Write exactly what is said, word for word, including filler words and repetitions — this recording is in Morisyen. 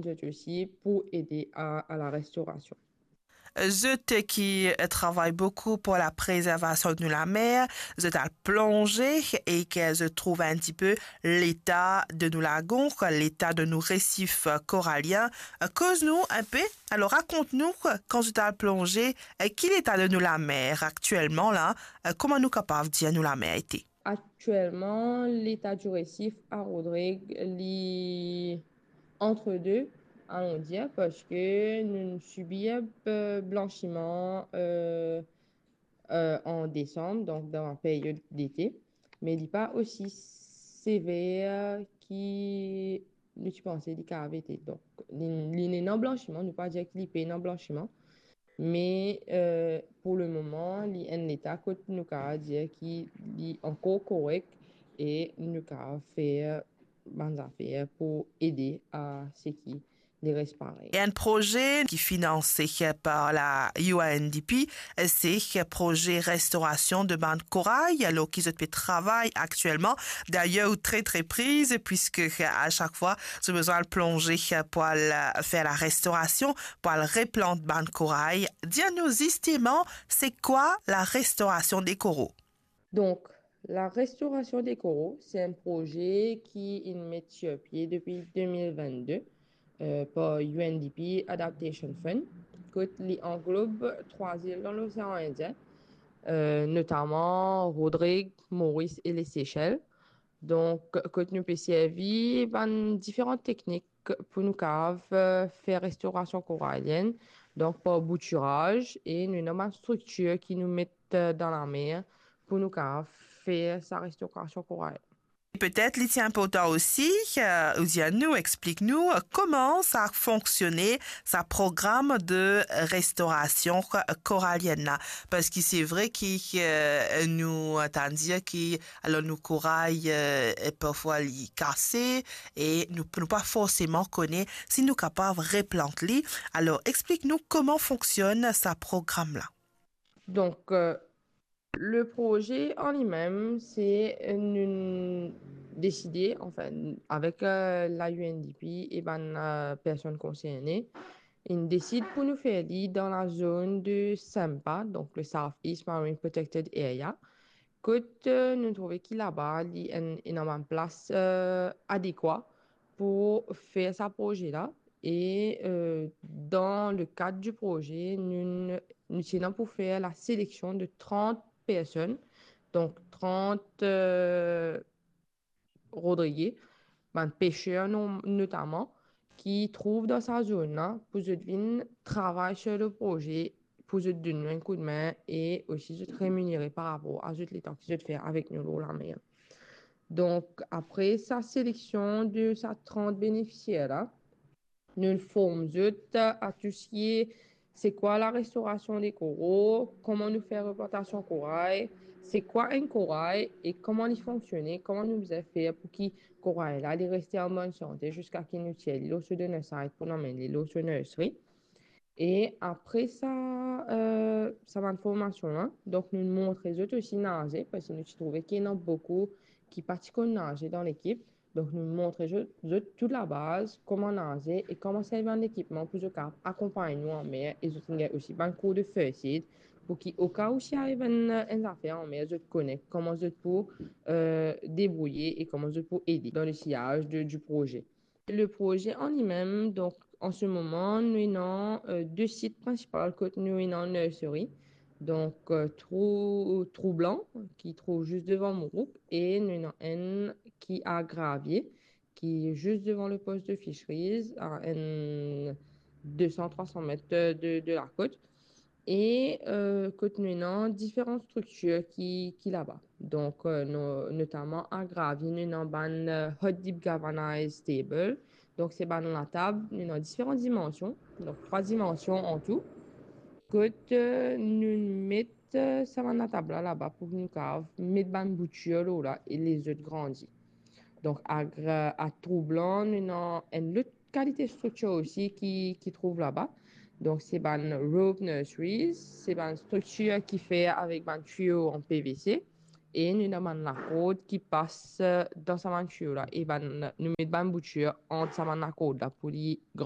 zot osi pou ede a, a la restorasion. Zot ki travay boukou pou la prezervasion de nou lamer, zot al plonze e ke zot trouv enn tipe leta de nou lagon, leta de nou resif koralien. Koz nou enpe, alor rakont nou, kan zot al plonze, ki leta de nou lamer aktielman la, kouma nou kapav dir nou lamer ete? Aktielman, leta di resif a Rodrig, li antre de, alon dir, parski nou sibir, eh, blansiman, eh, eh, an desanm, donk dan la period dete, me li pa osi sever ki nou ti panse li kapav ete. Donk, li, li ena blansiman, nou pa dir ki li pena blansiman, me, eh, pou lemoman, li enn leta kot nou kapav dir ki li ankor korek e nou kapav fer bann zafer pou ede a seki li res parey. E enn proze ki finanse par la U N D P, se proze restorasion de bann koray, alor ki zot pe travay aktielman. Dayer, ou tre, tre priz, puiske a sak fwa, zot bizin al plonze pou al, eh, fer la restorasion, pou al replant bann koray. Dir nou zisteman, se kwa la restorasion de koral? Donk, la restorasion de koral, se enn proze ki inn met sir pie depi de mil vennde, eh, par U N D P Adaptation Fund, kot li anglob trwa zil dan Losean Indien, eh, notaman Rodrig, Moris e Lesesel. Donk, kot nou pe servi bann diferan teknik pou nou kapav, eh, fer restorasion koralienn, donk par boutiraz, e nou ena bann striktir ki nou met, eh, dan lamer pou nou kapav fer sa restorasion koralienn. Petet li ti inportan osi, eh, ou dir nou, explik nou, eh, kouma sa fonksione, sa program de restorasion koralienn la. Parski se vre ki, eh, nou tann dir ki, alor, nou koray, eh, parfwa li kase e nou, nou pa forseman kone si nou kapav replant li. Alor, explik nou kouma fonksionn sa program la. Donk, eh, le proze an limem, se, eh, nou deside, anfin, avek, eh, la U N D P e bann, eh, personn konserne, inn desid pou nou fer li dan la zone de SEMPA, donk le South East Marine Protected Area, kot, eh, nou trouve ki laba li enn, ena bann plas, eh, adekwa pou fer sa proze la. E, eh, dan le kad di proze, nou, nou ti ena pou fer la seleksion de trant personn, donk trant, eh, Rodrigien, bann peser no-, notaman, ki trouv dan sa zone la, pou zot vinn travay sir le proze, pou zot donn nou enn koudme e osi zot reminere par rapor a zot letan ki zot fer avek nou lor lamer. Donk, apre sa seleksion de sa trant benefisier la, nou form zot a tou seki se kwa la restorasion de koral, kouma nou fer replantasion koray, se kwa enn koray e kouma li fonksione, kouma nou bizin fer pou ki koray la li reste an bonn sante ziska ki nou tir li lor so donor site pou nou amenn li lor so nursery. E apre sa, eh, sa bann formasion la, donk nou montre zot osi naze, parski nou ti trouve ki ena boukou ki pa ti konn naze dan lekip. Donk nou montre zot, zot tou labaz, kouma naze e kouma servi bann lekipman pou zot kapav akonpagn nou anmer, e zot inn gagn osi bann kour de first aid pou ki oka ou si ariv enn, enn zafer anmer, zot kone kouma zot pou, eh, debrouye e kouma zot pou ede dan le siyaz de, di proze. Le proze an limem, donk, an se moman, nou ena, eh, de sit prinsipal kot nou ena nursery. Donk, eh, Trou, Trou Blan, ki trouv zis devan Mourouk, e nou ena enn ki a Gravie, ki zis devan le post de fisheries, a enn de san, trwa san met de, de lakot. E, eh, kot nou ena diferan striktir ki, ki laba. Donk, eh, no-, notaman a Gravie, nou ena bann, eh, hot dip galvanized table. Donk, se bann latab, nou ena diferan dimansion. Donk, trwa dimansion an tou. Kot, eh, nou met, eh, sa bann latab la laba pou nou kapav met bann boutir lor la e les zot grandi. Donk, a Gra-, a Trou Blan, nou ena enn lot kalite striktir osi ki, ki trouv laba. Donk, se bann rope nurseries, se bann striktir ki fer avek bann tiyo an P V C. E nou ena bann lakord ki pas, eh, dan sa bann tiyo la. E bann, nou met bann boutir ant sa bann lakord la pou li gran